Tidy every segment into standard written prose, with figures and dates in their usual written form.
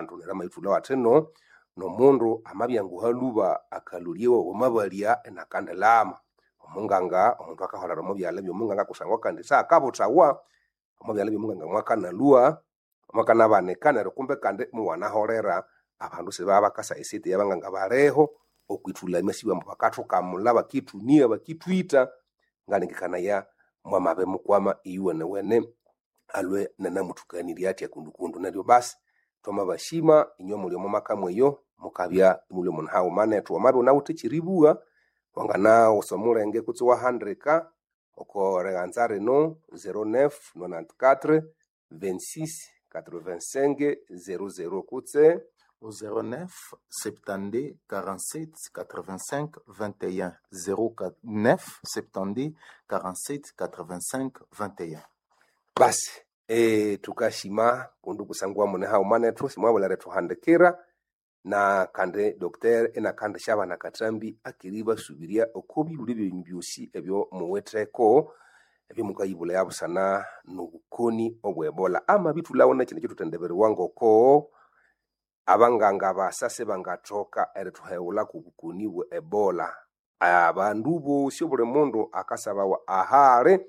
Abandu neryo amayithulha athino n'omundu amabya nguha lhuba akalholyewa wamabalya inakandilhama. Omunganga omundu akaholera omo byalha by'omunganga kusangwa kandi sakabuthawa omo byalha by'omunganga mwakanalhwa, mwakanabanika neryo kumbe kandi imuwanaholera abandu sibabya bakasaya esente eyabanganga baliho okwithulamya sibambu bakathukamulha bakithunia bakithwitha. Ngalengekanaya mwamabimukwama iyuwenewene alwe nanamuthukanirya athi akundukundu. Neryo basi twamabashima inywe muli omo maka mweyo mukabya imulhwe mune haghuma nethu. Wamabya iwunawithe ekyeribugha wanganawusa omulenge kutse iwahandika oko righanza rino 0994 26 85 00 kutse 09 72 47 85 21 09 72 47 85 21. Basi tukashima kundu kusangwa mune haghuma nethu simwabulha erithuhandikira na kandi Dr. inakandishabana akathambi akiribasubirya oko bibuli byenyu byosi ebyo muwitheko ebyomukayibulaya busana n'obukoni obwe Ebola. Amabithulhawo nekyindu ekyithuthendibiriwa ngoko abanganga basa sibangathoka erithuheghulha kobukoni bwe Ebola. Abandu bosi obuli mundu akasabawa ahali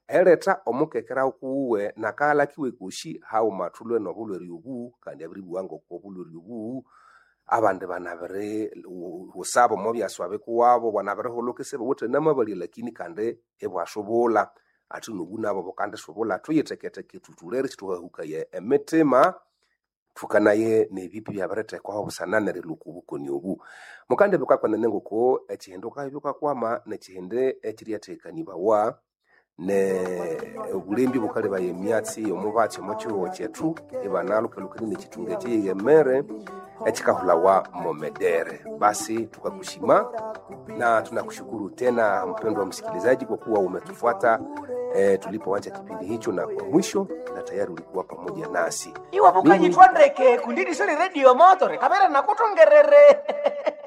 eritha omukekera kuwuwe nakaghalha kiwe kosi haghuma thulhwe n'obulhwere obu kandi abiribugha ngoko obulhwere obu abandi banabiri husaba omo byaswa bikuwabo bwanabirihulhuka isibawithe namabalya lakini kandi ibwasubulha athi nobu nabo bukandisubulha. Thuyitheketheke thutholere isithwahukaya emitima thukanaye n'ebipi byabirithekwaho busana nerilhwa oko bukoni obu. Mukandibika kwenene ngoko ekyihindi wukabya wukakwama nekyihindi ekyiryathekanibawa ne obulembi bukalebaya emyatsi y'omubatsi omo kihugho kyethu ibanalhukalhukanie n'ekyithunga ekyiyemere ekyikahulhawa momedere. Basi tukakushima na tunakushukuru tena mpendwa msikilizaji kwa kuwa umetufuata tulipoanza kipindi hicho na kwa mwisho, na tayari ulikuwa pamoja nasi. Iwe Mimi bukanyithwa ndeke kundidisoni radio motore kamera nakutongerere.